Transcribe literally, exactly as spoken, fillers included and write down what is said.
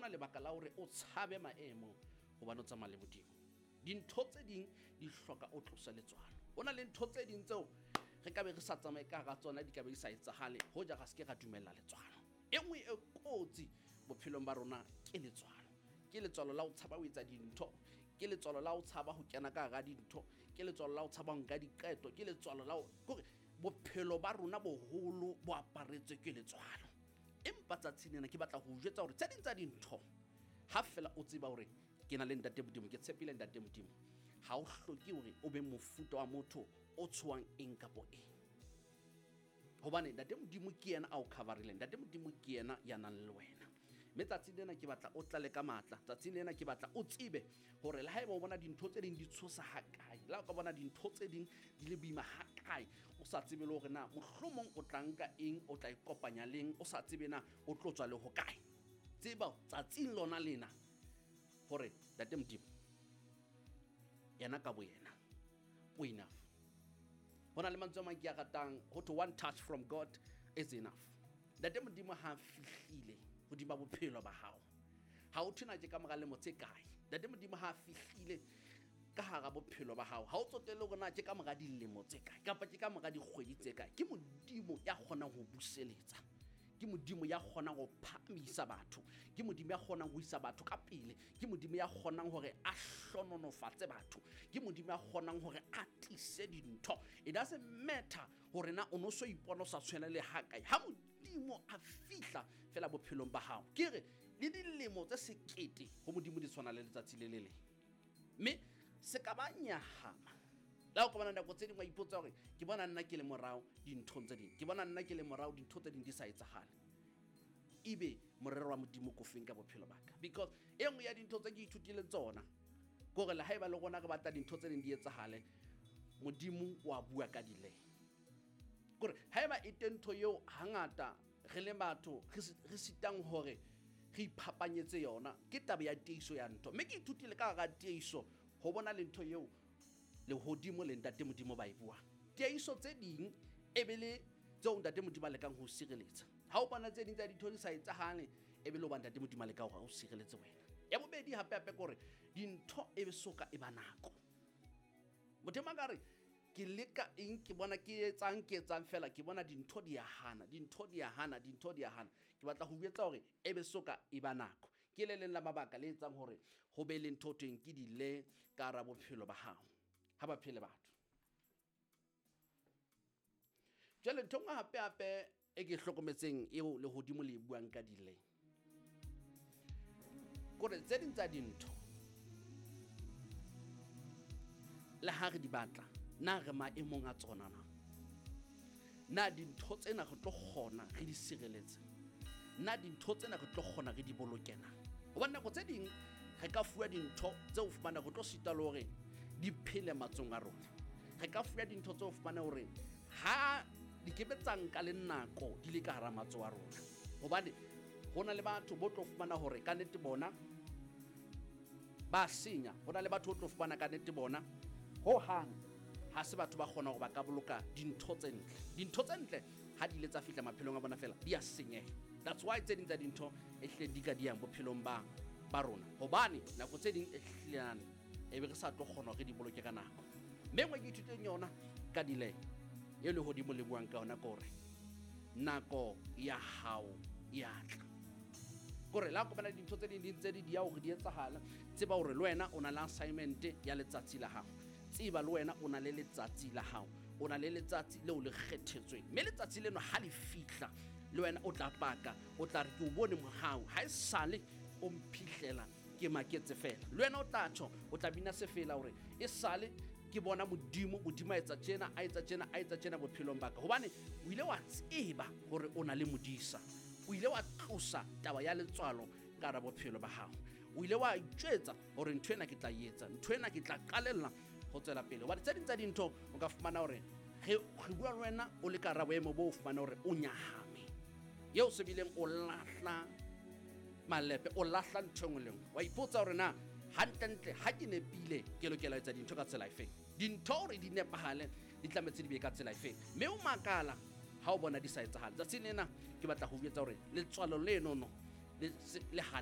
ona lebaka la hore o tshabe maemo hobane o tsamaya le Modimo. Dintho tse ding di hloka o tlose letswalo. Ho na le ntho tse ding tseo re ka be re sa tsamaye ka hara tsona, di ka be di sa etsahale hoja ra se ke ra dumella letswalo. E nngwe e kotsi bophelong ba rona ke letswalo. Ke letswalo la ho tshaba ho etsa dintho, ke letswalo la ho tshaba ho kena ka hara dintho, ke letswalo la ho tshaba ho nka diqeto, ke letswalo la ho kore bophelo ba rona boholo bo aparetswe ke letswalo. Empa tsatsing lena ke batla ho o jwetsa hore tse ding tsa dintho ha fela o tseba hore ke na le Ntate Modimo, ke tshepile Ntate Modimo, ha o hloke hore o be mofuta wa motho o tshohang eng kapo eng. Hobane Ntate Modimo ke yena a o cover-ileng, Ntate Modimo ke yena ya nang le wena. Mme tsatsing lena ke batla o tlale ka matla, tsatsing lena ke batla o tsebe hore le haeba o bona dintho tse ding di tshosa ha kae, le ha o ka bona dintho tse ding di le boima ha kae, o sa tsebe le hore na mohlomong o tla nka eng, o tla ikopanya leng, o sa tsebe na o tlo tswa le ho kae. Tseba tsatsing lona lena hore Ntate Modimo yena ka bo yena o enough. Ho na le mantswe a mang ke a ratang, ho thwe one touch from God is enough. Ntate Modimo ha fihlile hodima bophelo ba hao, ha o thwe na ke ka mora lemo tse kae. Ntate Modimo ha fihlile ka hara bophelo ba hao, ha o tsotelle hore na ke ka mora dilemo tse kae kapa ke ka mora dikgwedi tse kae. Ke Modimo ya kgonang ho buseletsa, ke Modimo ya kgonang ho phahamisa batho, ke Modimo ya kgonang ho isa batho ka pele, ke Modimo ya kgonang hore a hlononofatse batho, ke Modimo ya kgonang hore a tlise dintho. It doesn't matter hore na o no so ipona o sa tshwana le ha kae, ha Modimo a fihla fela bophelong ba hao, ke re le dilemo tse sekete ho Modimo di tshwana le letsatsi le le leng. Mme se ka ba nyahama le ha o ka bona nako tse ding wa ipotsa hore ke bona nna ke le morao dinthong tse ding, ke bona nna ke le morao dintho tse ding di sa etsahale. Ebe morero wa Modimo ko feng ka bophelo ba ka? Because e nngwe ya dintho tse ke ithutileng tsona ke hore le haeba le rona re batla dintho tse ding di etsahale, Modimo wa bua ka delay. Kore haeba e teng ntho eo hangata re le batho re sitang hore re iphapanyetse yona, ke taba ya tiiso ya ntho. Mme ke ithutile ka hara tiiso ho bona le ntho eo lehodimo le Ntate Modimo ba e buang. Tiiso tse ding e be le tseo Ntate Modimo a lekang ho sireletsa. Ha o bona tse ding tsa dintho di sa etsahale, e be le hoba Ntate Modimo a leka hore o sireletse wena. Ya bobedi hape hape ke hore dintho e be soka e ba nako. Motho e mang a re ke leka eng, ke bona ke etsang, ke etsang fela, ke bona dintho di a hana, dintho di a hana, dintho di a hana. Ke batla ho jwetsa hore e be soka e ba nako. Ke le leng la mabaka le etsang hore ho be le ntho teng ke dile ka hara bophelo ba hao. Ha ba phele batho. Jwale ntho nngwe hape hape e ke hlokometseng eo lehodimo le e buang ka dile, kore tse ding tsa dintho le ha re di batla, na re maemong a tsona na? Na dintho tsena re tlo kgona re di sireletse? Na dintho tsena re tlo kgona re di boloke na? Hobane nako tse ding re ka fuwa dintho tseo fumana re tlo sita le hore di phele matsong a rona. Re ka fuwa dintho tseo fumana hore ha di kebe tsa nka le nako di le ka hara matsoho a rona. Hobane ho na le batho bo tlo fumana hore ka nnete bona ba senya, ho na le batho bo tlo fumana ka nnete bona ho hang ha se batho ba kgona hore ba ka boloka dintho tse ntle. Dintho tse ntle ha di ile tsa fihla maphelong a bona fela di a senyeha. That's why tse ding tsa dintho e hlile di ka di yang bophelong ba ba rona, hobane nako tse ding e hlilane e be re sa tlo kgona hore di boloke ka nako. Mme nngwe ke ithutileng yona ka delay e lehodimo le buang ka yona ke hore nako ya hao ya tla. Kore la kopana le dintho tse ding di ntse di dia hore di etsahala, tseba hore le wena o na le assignment ya letsatsi la hao. Tseba le wena o na le letsatsi la hao, o na le letsatsi leo le kgethetsweng. Mme letsatsi leno ha le fihla le wena o tla paka, o tla re ke o bone mohau, ha esale o mphihlela ke maketse fela. Le wena o tla tjho, o tla bina sefela hore esale ke bona Modimo, Modimo a etsa tjena, a etsa tjena, a etsa tjena bophelong ba ka. Hobane o ile wa tseba hore o na le modisa, o ile wa tlosa taba ya letswalo ka hara bophelo ba hao, o ile wa itjwetsa hore ntho ena ke tla e etsa, ntho ena ke tla qalella ho tswela pele. Hobane tse ding tsa dintho o ka fumana hore re bua le wena o le ka hara boemo bo o fumana hore o nyahame, eo se bileng o lahla malepe, o lahla ntho e nngwe le nngwe. Wa ipotsa hore na hantlentle ha ke nepile ke lokela ho etsa dintho ka tsela efeng, dintho hore di nepahale di tlametse di be ka tsela efeng. Mme o makala ha o bona di sa etsahale. Tsatsing lena ke batla ho jwetsa hore letswalo lenono le le hane.